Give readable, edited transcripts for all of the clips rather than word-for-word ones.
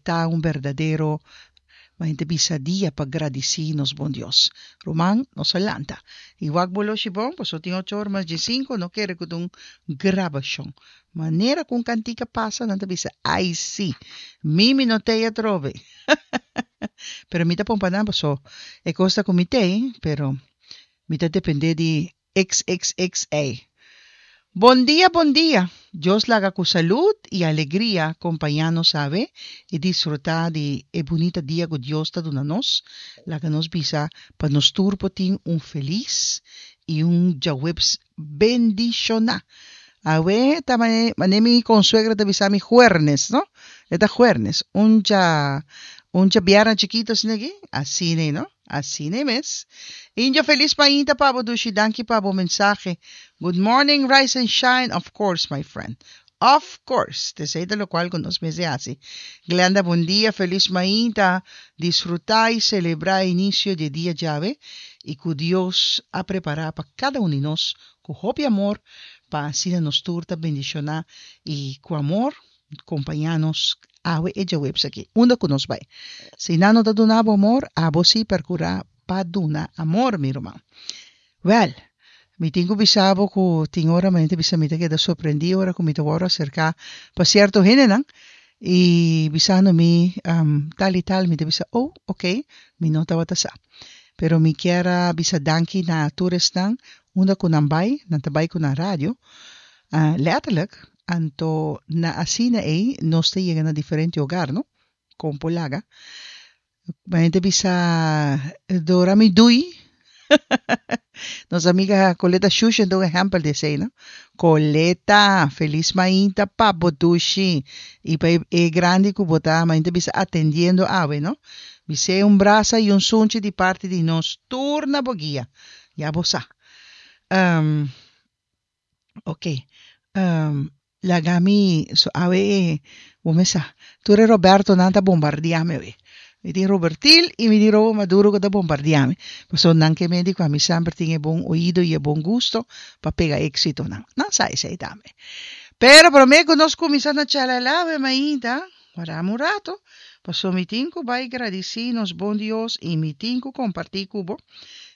Ta un berdadero Maente bisa dia pa gradisí nos bon Dios. Ruman, nos a lanta. I wak bo loshi bon, paso tin ocho or mas diesinku, no kere ku ta un grabashon. Manera ku un kantika pasa, nan ta bisa, Ai sí, mi mi no t'ei atrobe. Pero mi ta pompa nan paso e kos ta ku mi t'ei, pero mi ta dependé di XXXA. Bon dia bon dia! Dios laga ku salud i alegria kompañá nos awe i disfrutá di e bunita dia ku Dios ta duna nos. Laga nos bisa pa nos tur por tin un felis i un djaweps bendishoná. Awe ta mane mi konsuegra ta bisa mi juernes, no? E ta juernes, un dja un djabièrnè chikito asina aki, asina no? Asina e mes. Indio felis mainta pa bo dushi danki pa bo mensahe. Good morning rise and shine of course my friend of course t'esei ta locual cu nos mester haci. Glenda bon dia felis mainta disfruta y celebra e inicio di e dia djawe y cu Dios a prepara pa cada un di nos cu hopi amor pa asina nos tur ta bendiciona y cu amor Kompañá nos awe e djaweps aki, unda ku nos bai. Si nan no ta duna bo amor, abo sí perkurá pa duna amor, mi ruman. Wèl, mi tin ku bisa bo ku tin ora mi ta bisa mi ta keda sorprendí ora ku mi ta wòrdu aserká pa sierto hendenan i bisando mi tal i tal, mi ta bisa, oh, oké, mi no tabata sa. Pero mi kier a bisa danki na tur esnan unda ku nan bai, nan ta bai ku nan radio, Letterlijk, anto na asina ei nos ta yega na diferente hogar, no? Kon por laga. Mi ta bisa Dora mi dui. Nos amiga Coleta Shushen ta un ehèmpel di esei, no? Coleta, felis mainta pa bo dushi i pa e grandi ku bo ta, mi ta bisa atendiendo awe, no? Bis'é un brasa i un sunchi di parti di nos tur na bo guia. Ya bo sa. Ok, laga mi so awe e bo me sa. Tur e Robertonan ta bombardiá mi awe. Mi tin Robertil i mi tin Robo Maduro ku ta bombardiá mi. Pasobra nan ke medi ku ami semper tin e bon oido i e bon gusto pa pega éksitonan. Nan sa esei tambe. Pero promé ku nos kuminsá na chalala awe mainta, warda mi un rato, pasobra mi tin ku bai gradisí nos bon Dios i mi tin ku kompartí ku bo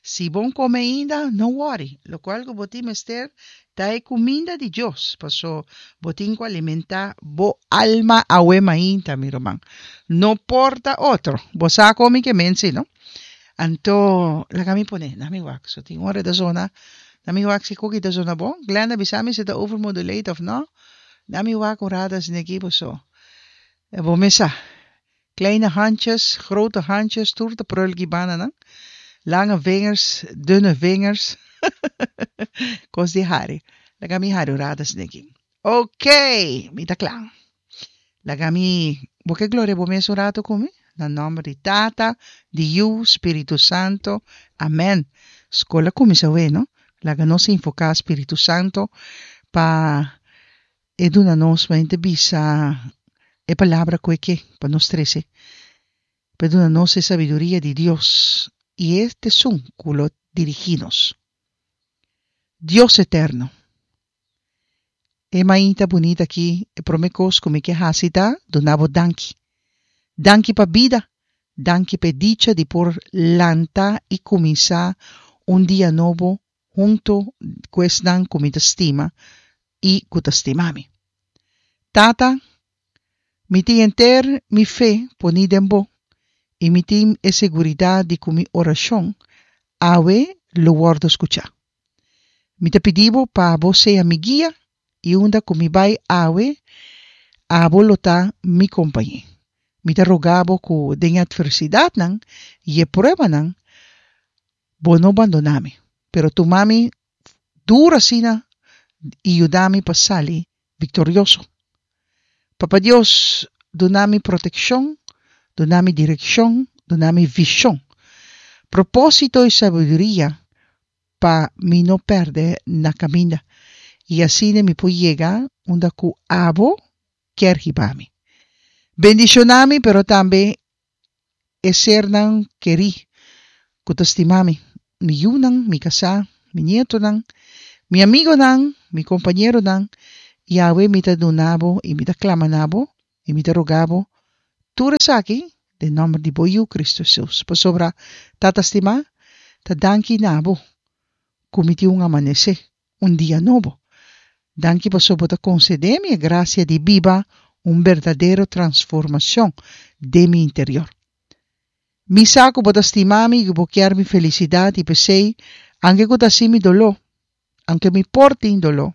Si bon come ainda, no worry, locual cu bo tin mester ta e cuminda di Dios, paso bo tin cu alimenta bo alma awe mainta, mi ruman. No por ta otro. Bo sa con mi ke men si, no? Anto, laga mi pone, na mi wak, so tin ora ta zona, na mi wak si cookie ta zona bon. Glenda bisa mi si ta overmodulate of no. Na mi wak un rato asina aki, paso bo mes sa. Kleine handjes, grote handjes, tur ta prul ki banda nan. Lange vingers, dunne vingers. Kos di hari. Laga mi hari un rato asina aki. Ok, mi ta kla. Laga mi, bo ke gloria bo mes un rato ku mi? Na nòmber di Tata, di Yu, Spiritu Santo. Amen. Skol a kuminsá awe, no? Laga nos invoká Spiritu Santo pa E duna nos mente bisa e palabra ku e ke pa nos trese. Pa e duna nos e sabiduria di Dios i e ta esun ku lo dirigí nos. Dios eterno, e mainta bunita aki e promé kos ku mi ke hasi ta duna bo danki. Danki pa bida, danki pa e dicha di por lanta i kuminsá un dia nobo hunto ku esnan ku mi ta stima i ku ta stima mi. Tata, mi tin henter mi fe poní den bo i mi tin e seguridat di ku mi orashon awe lo wòrdu skuchá. Mi ta pidi bo pa bo sea mi guia i unda ku mi bai awe, abo lo ta mi kompañé. Mi ta roga bo ku den e atversidatnan i e pruebanan Bo no bandoná mi, pero tuma mi duru asina i yuda mi pa sali viktorioso. Papa Dios, duna mi protekshon, duna mi direkshon, duna mi vishon, propósito i sabiduria pa mi no pèrdè na kaminda i asina mi por yega unda ku abo kier hiba mi. Bendishoná mi, pero tambe e sernan kerí ku ta stima mi, mi yunan, mi kasá, mi nietonan, mi amigonan, mi kompañeronan, i awe mi ta duna bo i mi ta klama na bo i mi ta roga bo, Tur esaki den nòmber di bo Yu Kristu Hesus. Pasobra, Tata stimá, ta danki na bo ku mi tin un amanesé, un dia nobo. Danki pasobra bo ta konsedé mi e grasia di biba un berdadero transformashon den mi interior. Mi sa ku bo ta stima mi i ku bo kier mi felisidat i p'esei, anke ku ta hasi mi doló, anke mi por tin doló,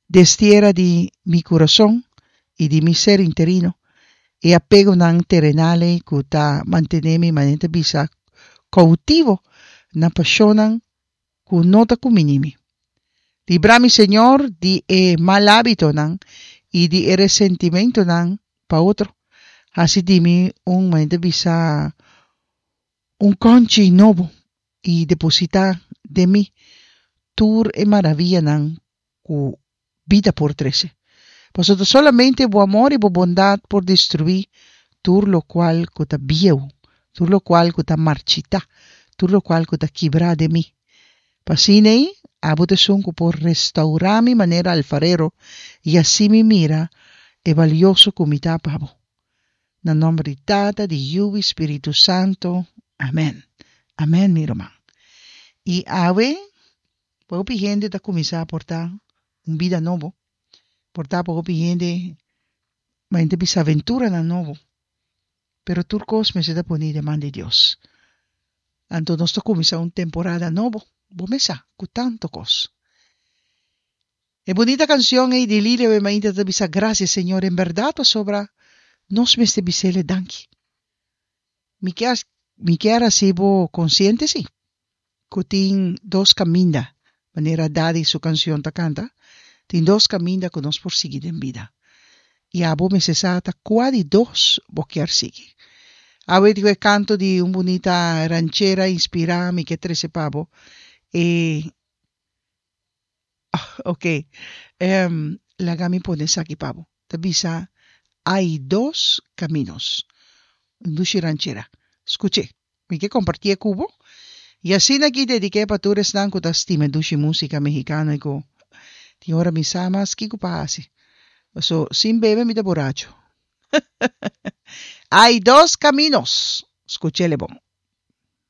destiera di mi kurason i di mi ser interino e apegonan terenal ei ku ta mantené mi manera ta bisa koutivo na pashonnan ku no ta kuminí mi. Libra mi, Señor, di e mal hábitonan i di e resentimentonan pa otro. Hasi di mi un manera ta bisa un kònchi nobo i depositá den mi tur e maravianan ku bida por trese. Pasobra ta solamente bo amor i bo bondat por destruí tur lokual ku ta bieu, tur lokual ku ta marchitá, tur lokual ku ta kibrá den mi. Pa asina ei, abo ta esun ku por restourá mi manera alfarero i hasi mi mira e balioso ku mi ta pa bo. Na nomber di Tata, di Yu i Spiritu Santo. Amen. Amen, mi ruman. I awe, pa hopi hende ta kuminsá portá un bida nobo, portá pa hopi hende ma hende bisa aventuranan nobo. Pero tur kos mester ta poni den man di Dios. Anto nos ta kuminsá un temporada nobo, bo mes sa, ku tantu kos. E bunita cancion ey di Lilia Wemainta ta bisa gracias Señor en berdad pasobra nos mester bisele danki. Mi kier mi kier haci bo consciente si cu tin dos caminda manera Daddy su cancion ta canta tin dos caminda cu nos por sigui den bida y abo mester sa ta cua di dos bo kier sigui. Awe di cu e canto di un bunita ranchera inspira mi ke trece pa bo e Ok, em, laga mi pone esaki pa bo. Ta bisa, Hay dos caminos. Un dushi ranchera. Scuch'é. Mi ke compartié cu bo. Y asina aki dediqué pa tur esnan cu ta stima e dushi musica mexicano y cu tin ora mi sa mas kico pa haci. Paso, sin bebe mi ta buracho. Hay dos caminos. Scuch'é le bon.